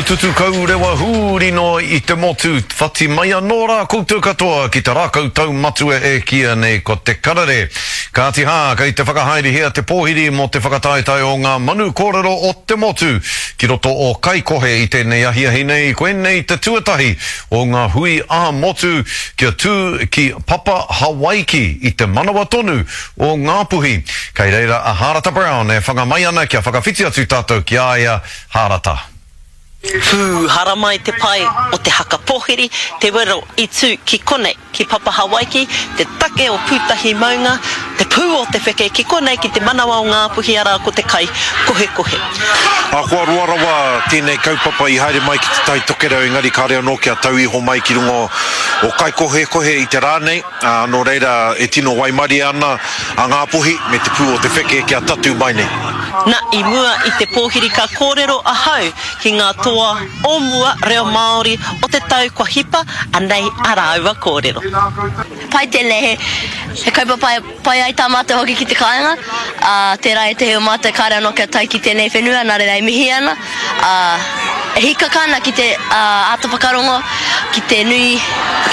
tutu kaurewa hūri noa i te motu, whati mai anō rā koutou katoa ki te rākau taumatua e kīia nei ko Te Karere. Kāti hā, kei te whakahaerehia te pōhiri mō te whakataetae o ngā manu kōrero o te motu ki roto o Kaikohe i tēnei ahiahi nei, koinei te tuatahi o ngā hui ā-motu kia tū ki Papa Hawaiki i te manawa tonu o Ngāpuhi. Kei reira a Hārata Brown e whanga mai ana kia whakawhiti atu tātou ki a ia, Hārata. Pū haramai te pae o te haka pōhiri, te wero i tū ki konei, ki Papa Hawaiki, te take o Pūtahi maunga, te pū o te wheke ki konei ki te manawa o Ngāpuhi arā ko te kai kohekohe. Ahakoa roa rawa tēnei kaupapa i haere mai ki Te Tai Tokerau engari kāre anō kia tau iho mai ki runga o Kaikohekohe i te rā nei. Ā, nō reira e tino waimarie ana a Ngāpuhi me te pū o te wheke kia tatū mai nei. Na, i mua i te pōhiri ka kōrero ahau ki ngā toa o mua reo Māori o te tau kua hipa, anei a rāua kōrero. Pai tēnei, he, he kaupapa e pai ai tā mātou hoki ki te kāinga, ā, tērā ētehi o mātou kāre anō kia tae ki tēnei whenua, nā reira e mihi ana. ā, e hīkaka ana ki te āta whakarongo ki te nui,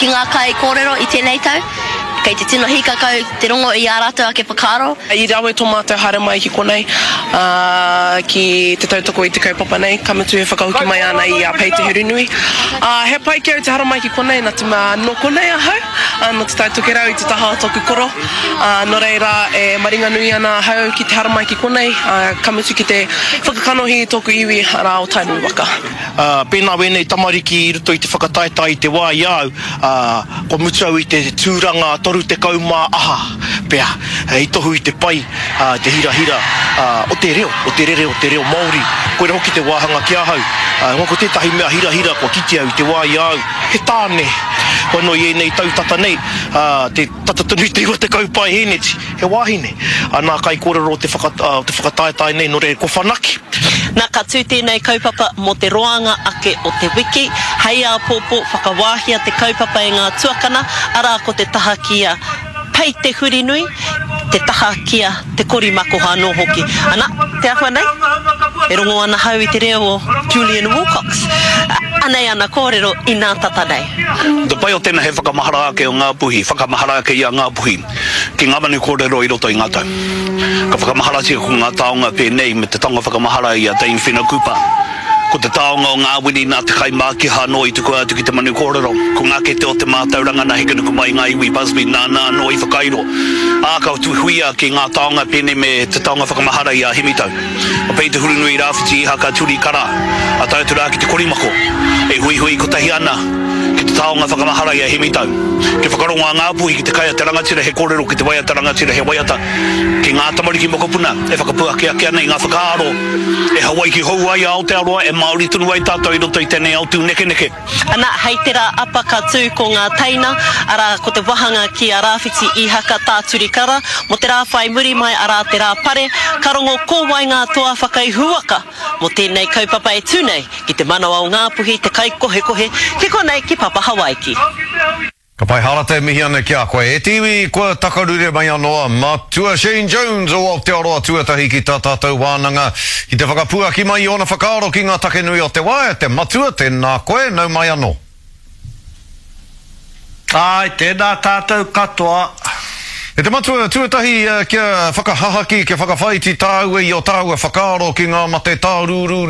ki ngā kaikōrero i tēnei tau. Kei te tino hīkaka au te rongo i ā rātou ake whakaaro. I rawe tō mātou haere mai ki konei, ā, ki te tautoko i te kaupapa nei, ka mutu e whakahoki mai ana i a Pei Te Hurunui. Ā, he pai ki au te haramai ki konei, nā te mea nō konei ahau, ā, nō Te Tai Tokerau i te taha o tōku koro, ā, nō reira e maringanui ana ahau ki te haramai ki konei, ā, ka mutu ki te Whakakanohi i tōku iwi, arā, o Tainui waka. Ā, pēnā wēnei tamariki i roto i te whakataetae i te wā i a au, ā, kua mutu au i te tūranga 30 mā aha pea, hei tohu i te pai, ā, te hirahira, ā, o te reo, o te rere o te reo Māori. Koira hoki te wāhanga ki ahau. Ā, ko tētahi mea hirahira kua kitea i te wā i a au, he tāne, hoi anō i ēnei tau tata nei, ā, te tata tonu i te 90 paehēneti. He wāhine. Nā kaikōrero o te whakataetae nei, nō reira, kua whanake. Nā, ka tū tēnei kaupapa mō te roanga ake o te wiki. Hei āpōpō, whakawāhia te kaupapa e ngā tuakana, arā ko te taha ki a Pei Te Hurinui, te taha ki a Te Korimakoha anō hoki. Ana, te āhua nei, e rongo ana hau i te reo o Julian Wilcox. Anei ana kōrero inā tata nei. Te pai o tēnā he whakamahara ake o Ngāpuhi, whakamahara ake i a Ngāpuhi. Ki ngā manu kōrero i roto i ngā tau. Ka whakamaharatia ko ngā taonga pēnei me te taonga whakamahara i a Dame Whina Cooper. Ko te taonga o ngā wini nā te kaimākiha anō i tukua atu ki te manu kōrero. Ko ngā kete o te mātauranga nā Hekenukumai ngā iwi Busby nāna anō i whakairo. Ā, ka huia ki ngā taonga pēnei me te taonga whakamahara i a Hemitau. A Pei Te Hurunui Rāwhiti Ihaka Turi Kara, a tae atu rā ki te korimako, e huihui kotahi ana ki te taonga whakamahara i a Hemitau. Kia whakarongo a Ngāpuhi ki te kai a te rangatira he kōrero ki te waiata rangatira he waiata ki ngā tamariki mokopuna e whakapuaki ake ana i ngā whakaaro e Hawaiki hou ai a Aotearoa e Māori tonu ai tātou i roto i tēnei ao tūnekeneke. Ana, hei te rā apa ka tū ko ngā teina, arā, ko te wahanga ki a Rāwhiti Īhaka Tā Turi Kara, mō te rā whai muri mai, arā, te rā pare, ka rongo ko wai ngā toa whakaihuwaka mō tēnei kaupapa e tū nei ki te manawa o Ngāpuhi te kaikohekohe ki konei ki Papa Hawaiki. Ka pai Harata e mihi ana ki a koe. E te iwi, kua takarure mai anō a Matua Shane Jones o Aotearoa Tuatahi ki tā tātou wānanga ki te whakapuaki mai i ōna whakaaro ki ngā take nui o te wā. E te Matua, tēnā koe, nau mai anō. Āe, tēnā tātou katoa. E te Matua, tuatahi kia whakahahaki, kia whakawhāiti tāua i ō tāua whakaaro ki ngā mate tārūrū.